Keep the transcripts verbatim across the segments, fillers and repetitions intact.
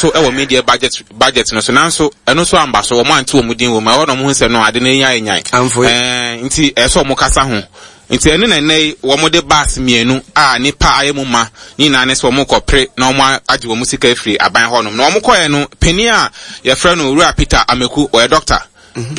so wɔ media budget budget no so, nanso ɛno nso amba so. Wɔn ante wɔn din wɔ mu. Ɛhɔ na wɔn ho sɛ no ade no nya nyan. Ɛɛ nti ɛsɛ wɔn kasa ho. Nti ɛno na ɛnɛ yi wɔn de bus mmienu a nipa ayɛ mu ma ne nyinaa ne sɛ wɔn kɔ pere na wɔn agye wɔn sika afiri aban hɔnom. Na wɔn kɔɛ no, panin a yɛfrɛ no Owura Peter Ameku, ɔyɛ doctor.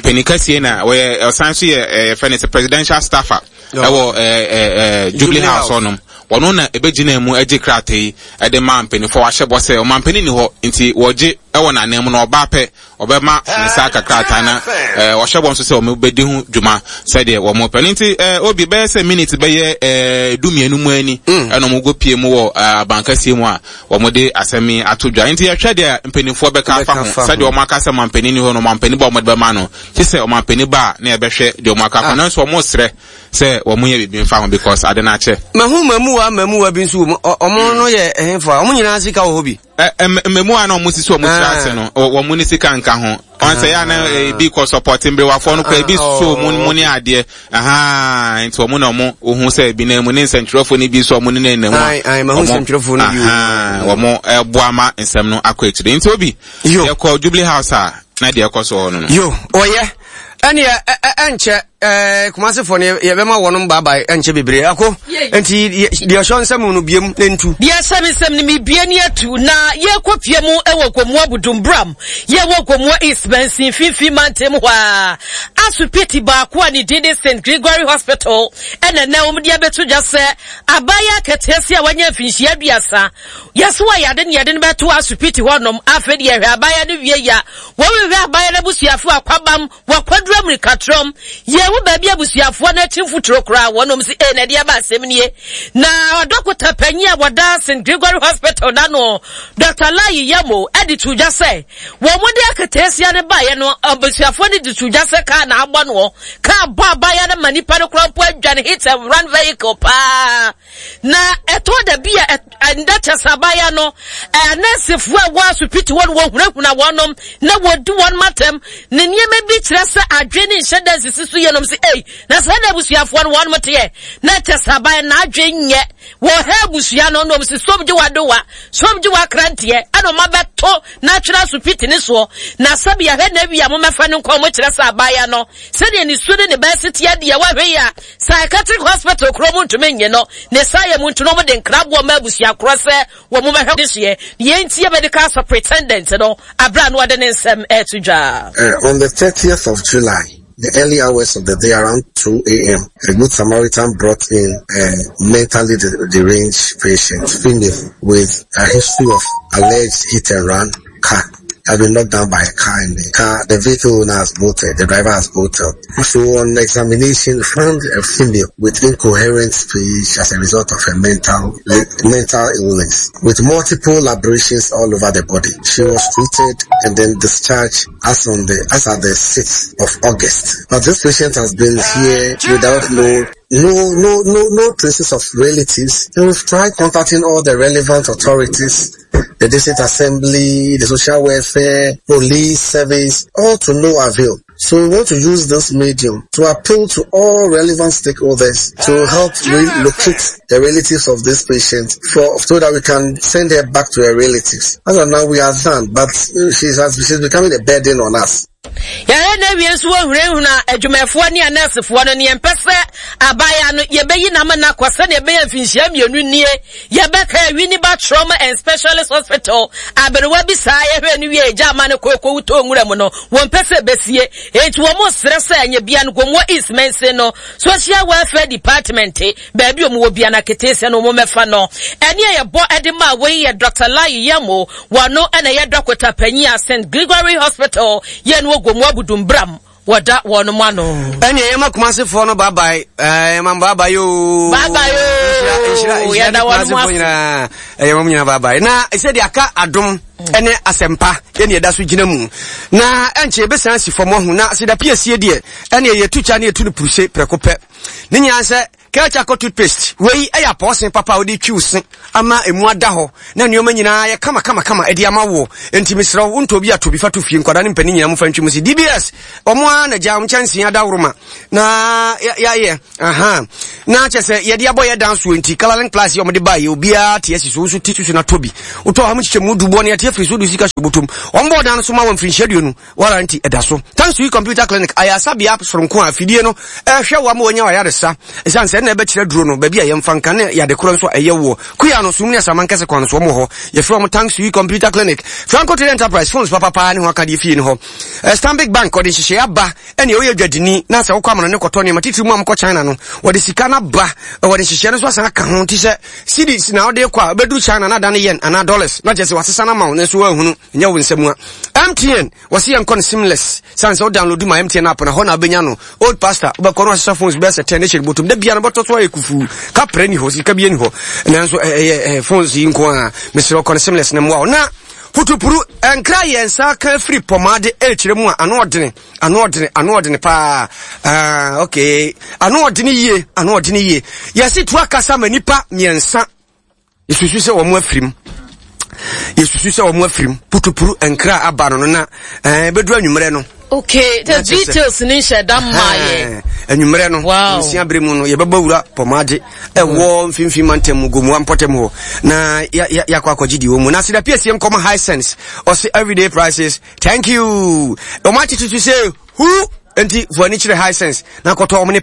Panin kɛseɛ na ɔyɛ, ɔsan so yɛ yɛfrɛ no sɛ presidential staffer ɛwɔ ɛɛ ɛɛ Jubilee House hɔnom. Wɔn na ebegyina mu agye krataa yi ɛde ma mpanimfoɔ. Wahyɛ bɔ sɛ ɔmampanin ni hɔ nti wɔgye ɛwɔ n'anan mu na ɔbaa pɛ ɔbɛma ne nsa aka krataa na ɛɛ ɔhyɛ bɔ nso sɛ wɔn bɛdi ho dwuma sɛdeɛ wɔn pɛ no. Nti ɛɛ obi bɛyɛ sɛ minute bɛyɛ ɛɛ du mmienu mu ani ɛna wɔn go pie mu wɔ ɛɛ abankɛseɛ mu a wɔn de asɛm yi ato dwa. Nti yɛhwɛ deɛ mpanimfoɔ bɛka afa ho, sɛdeɛ wɔn aka sɛ ɔmampanin ni hɔ no, ɔmampanin ba wɔn de bɛma no ti sɛ ɔmampanin ba a na yɛbɛhwɛ deɛ wɔn aka afa. Nanso wɔn srɛ sɛ wɔn yɛ biribi nfa ho because ade no akyɛ. Mahu mmamuwa mmamuwa bi nso wɔ mu, ɔmo no yɛ ɛhenfo a ɔmo nyinaa sika wɔ hɔ bi? Ɛ mmamuwa na ɔmo sisi ɔmo tiri ase no, wɔn ne sika nka ho. Wɔn sɛ yɛ ana ebi kɔ support mberewafoɔ no kora ebi so mu mu ne adeɛ ahaa, nti wɔn na wɔn ohun sɛ ebi na mu ne nsɛntwerɛfoɔ no bi nso wɔn ne nenam mu a wɔn wɔn ɛboa ma nsɛm no akɔ akyire. Nti obi yɛkɔ Jubilee House a na deɛ ɛkɔ so hɔ no no. Yo, ɔyɛ ɛneɛ ɛnkyɛ ɛɛ Kumasefoɔ no yɛbɛma wɔnom baabae ɛnkyɛ bebree ako. Nti deɛ ɔhyɛ nsɛm no biem ne ntu. Deɛ ɛhyɛ me nsɛm no mebie ne atu na yɛkɔ pie mu ɛwɔ Gomoa Budumbram, yɛwɔ Gomoa East Mansin mfimfini mantam hɔ a, asopiti baako a ne din de Saint Gregory Hospital ɛna nɛ wɔn de abɛto dwa sɛ abaayewa akɛteɛse a wanya mfinhyia aduasa yɛso wɔ yade ne yɛde no bɛto asopiti hɔnom. Afei deɛ yɛhwɛ abaayewa no wie ya, wɔhwehwɛ abaayewa no abusuafo akwabam wakwadura mmirikatrɔm yɛhu baabi abusuafoɔ no akyi mfuturo koraa wɔnom si ee na ɛde aba asɛm nie. Na ɔdɔkota panyin a wɔda Saint Gregory Hospital da no, Doctor Layi Yamo, ɛde to dwa sɛ wɔn mo de aketeesia no baeɛ no, abusuafoɔ no de to dwa sɛ kaa na abɔ no, kaa bɔ abaayewa no ma nipa no koraa mpo adwane, hit and run vehicle paa. Na ɛtɔ da bi a ɛnda kyɛ sɛ abaayewa no anɛnsefoɔ a ɛwɔ asopiti hɔ no wɔhunahuna wɔnom na wɔdi wɔn matam ne nneɛma bi kyerɛ sɛ adwene ne nhyɛ da nsisi so yɛnom sɛ ei na sɛ na abusuafoɔ no wɔnom teɛ na kyɛ sɛ abaayewa n'adwene nyɛ wɔhɛ abusua no na wɔn sɛ som gye wadowa som gye wakranteɛ ɛna wɔn abɛto n'atwerɛ asopiti ne soɔ na sɛbi ahwɛ na awi a momɛfa no nkɔn mo kyerɛ sɛ abaayewa no sɛdeɛ ne su ne ne bɛsi teɛ deɛ wahwɛ yi a psychiatric hospital kuro mu ntumi nye no ne saa yɛ mu nti no wɔde nkraboɔ ma abusua korɔ sɛ wɔn mu bɛhwɛ de hyeɛ yɛn ti yɛ medical superintendent no abira no ɔde ne nsɛm ɛɛto dwa. Uh, on the thirtieth of July, the early hours of the day around two A M, a Good Samaritan brought in a mentally deranged patient, female, with a history of alleged hit and run car. Has been knocked down by a car, and the car, the vehicle owner has bolted, the driver has bolted. So on examination, found a female with incoherent speech as a result of a mental, mental illness, with multiple abrasions all over the body. She was treated and then discharged as on the, as at the sixth of August. But this patient has been here without no No, no, no, no traces of relatives. And we've tried contacting all the relevant authorities, the district assembly, the social welfare, police service, all to no avail. So we want to use this medium to appeal to all relevant stakeholders to help relocate the relatives of this patient for, so that we can send her back to her relatives. As of now, we are done, but she's, she's becoming a burden on us. Yɛhwɛ na wie nso wɔhunahuna adwumayɛfoɔ ne anɛɛsefoɔ no ne yɛmpɛ sɛ abaayewa no yɛbɛyi n'ama no akɔ sɛdeɛ ɛbɛyɛ mfinhyia mmienu nie yɛbɛka Winneba Trauma and Specialist Hospital aberewa bi saa yɛhwɛ no wie agya ama no kɔ kɔwu tɔ nwura mu no wɔmpɛ sɛ ɛbɛsie enti wɔn srɛ sɛ ɛnyɛ bia no Gomoa East Mansin no Social Welfare Department baabi wɔn wɔ bia no akete sɛ no wɔn mɛfa no ɛne a yɛbɔ ɛde ma wei yɛ Doctor Layi Yamo wɔno ɛna yɛ dɔkota panyin a Saint Gregory Hospital yɛn wɔ Gomoa Budumbram wɔda wɔn mu ano. Ɛnni ɛyɛ ma Kumasefoɔ no bye-bye, ɛɛ ma bye-bye yoo. Bye-bye yoo. Yɛda wɔn mu ase. Ɛyɛ wɔn nyinaa bye-bye. Na sɛ de aka adom ɛne asɛmpa yɛne yɛda so gyina mu. Na ɛnkyɛ yɛbɛsan si fam ahu na sɛ da piesie deɛ ɛne yɛtu kya ne yɛtu no puruse prɛko pɛ. Ne nyinaa sɛ Kelchako toothpaste wei ɛyɛ apɔɔsen papa a wode twi wo se ama emu ada hɔ na nneɛma nyinaa yɛ kama kama kama ɛde ama wo. Enti mesrɛ wo wontɔ bi ato bi fa to fie nkwadaa ne mpanin nyinaa momfa ntwi mu se D B S ɔmo ara na gya nkyɛnsee adaworoma na yɛayɛ aha na kyɛ sɛ yɛde abɔ yɛ dan soɔ nti Coloring Plus yɛ ɔmo de baeɛ obiara te asi so wo nso ti susu na tɔ bi wotɔ ha mo kyekyɛ mu du bɔ ne ɛte afiri so de sika hyɛ bɔtɔm. Wɔn bɔɔ dan no so ma wɔn mfirinhyia aduonu warranty ɛda so. Thanks to Computer Clinic, ayasabea soronko a afidie no ɛhwɛ wɔn ama wɔnya ayaresa. Ɛsiane sɛ ɛna ɛbɛkyerɛ duro no baabi a yɛmfa nka ne yade korɔ nso a ɛyɛ woɔ. Kuya no sum ne asaman kɛse kwan no so wɔn wɔ hɔ. Yɛfrɛ wɔn Thanks to Computer Clinic. Franco Trade Enterprise, phones papapaa ne ho akadeɛ fie no hɔ. Eh, Stanbic Bank ɔde nhyehyɛeɛ aba ɛne ɔyɛ dwadini na sɛ wokɔ amano ne kɔtɔ nneɛma titiri mu a mokɔ China no, wɔde sika no aba, wɔde nhyehyɛeɛ no nso asan aka ho. Nti sɛ cedis na wode kɔ a, wobɛduru China na adane yen anaa dollars na kyerɛ sɛ wasesa no ama wo, nanso woanhunu nyɛ wo nsɛm a. M T N wɔse yɛnkɔ no seamless sane sɛ wo download ma M T N app na hɔ na wobɛnya no. Old Pastor, wobɛkɔ no asesa phones bɛyɛ sɛ ten ne hyɛ bɔtom da bia no bɔtɔ so ayɛ kufuu, kaprɛ ni hɔ, sika bi ni hɔ, nanso ɛyɛ phones yi nko a. Mesrɛ, kɔ no seamless na mmoa wo. Na putupuru nkra yɛn nsa ka firi pɔmaade ɛrekyerɛ mu a, ano ɔdene, ano ɔdene, ano ɔdene paa. Ah, okay, ano ɔdene yie, ano ɔdene yie. Yɛsi tu akasa ma nipa mmiɛnsa, yɛsusu sɛ wɔn afirim, yɛsusu sɛ wɔn afirim. Putupuru nkra aba no no na ɛɛ bɛduru anwummerɛ no. Okay, the details ni nhyɛ da mmaa yɛ. Anwummerɛ no nsia bere mu no, yɛbɛbɔ wura pɔmaade ɛwɔ mfimfini mantam mu, Gomoa mpɔtam hɔ, na yɛakɔ akɔgye deɛ wɔ mu. Na seda piesie nkɔmɔ Hisense ɔse everyday prices, thank you. Ɔmo akyekye so sɛ hu, nti fo ani kyerɛ Hisense na kɔtɔ ɔmo ne